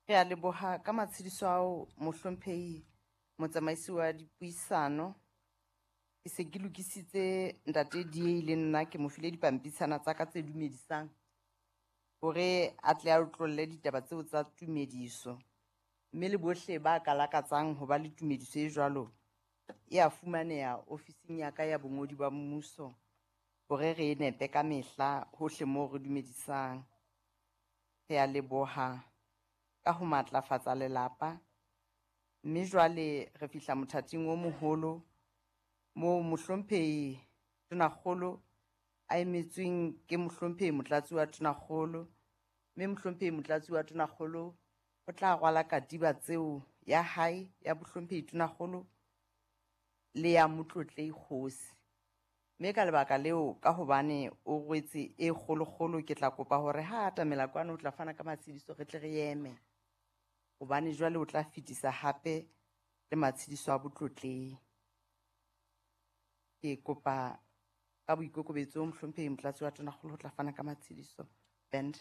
Re a leboha ka matshediso ao, mohlomphehi motsamaisi wa dipuisano. Ke se ke lokisitse ntate DA le nna ke mo file dipampitshana tsa ka tse dumedisang hore a tle a otlolle ditaba tseo tsa tumediso. Mme le bohle ba ka lakatsang ho ba le tumediso e jwalo, ya fumaneha ofising ya ka ya bongodi ba mmuso hore re nepe ka mehla hohle moo re dumedisang. Rea leboha ka ho matlafatsa lelapa, mme jwale re fihla mothating o moholo moo mohlomphehi Tonakgolo a emetsweng ke mohlomphehi Motlatsi wa Tonakgolo. Mme mohlomphehi Motlatsi wa Tonakgolo o tla rwala katiba tseo ya hae ya bohlomphehi Tonakgolo le ya Motlotlehi Kgosi. Mme ka lebaka leo, ka hobane o rwetse e kgolokgolo, ke tla kopa hore ha atamela kwano o tla fana ka matshediso re tle re eme. Hobane jwale o tla fetisa hape le matshediso a botlotlehi. Ke kopa ka boikokobetso mohlomphehi Motlatsi wa Tonakgolo ho tla fana ka matshediso. Band.